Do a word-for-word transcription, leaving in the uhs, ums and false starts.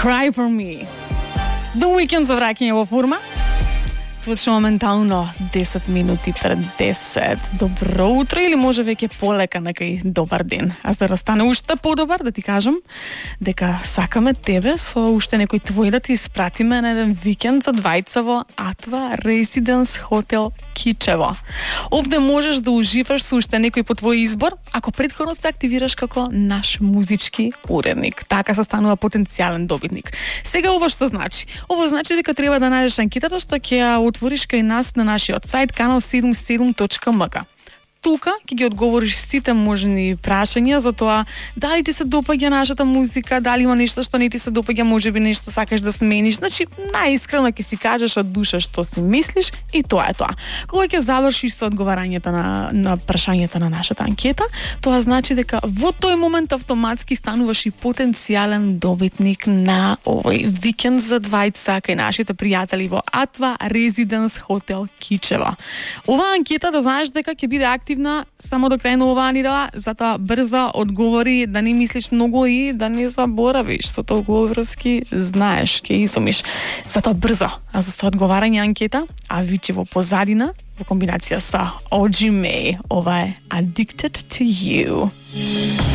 Cry for me. The Weeknd за враќање во форма. Точно моментално десет минути пред десет. Добро утро или може веќе полека некај добар ден. А за да стане уште подобар, да ти кажам дека сакаме тебе со уште некој твој да ти испратиме на еден викенд за двајца во Атва Residence Hotel Кичево. Овде можеш да уживаш со уште некој по твој избор, ако претходно се активираш како наш музички уредник. Така се станува потенцијален добитник. Сега ова што значи? Ова значи дека треба да најдеш анкетата што ќе ја отвориш кај нас на нашиот сајт канал седумдесет и седум точка ем ка. Тука ќе ги одговориш сите можни прашања за тоа дали ти се допаѓа нашата музика, дали има нешто што не ти се допаѓа, можеби нешто сакаш да смениш. Значи, најискрено ќе си кажеш од душа што си мислиш и тоа е тоа. Кога ќе завршиш со одговарањето на на прашањата на нашата анкета, тоа значи дека во тој момент автоматски стануваш и потенцијален добитник на овој викенд за двајца кај нашите пријатели во Атва Residence Hotel Кичево. Оваа анкета да знаеш дека ќе биде активна само до крај на оваа недела, затоа брзо одговори, да не мислиш многу и да не заборавиш со толку врски, знаеш, ќе изумиш. Затоа брзо, а за со одговарање анкета, а вичи во позадина, во комбинација со О Џи Меј, ова е Addicted to You.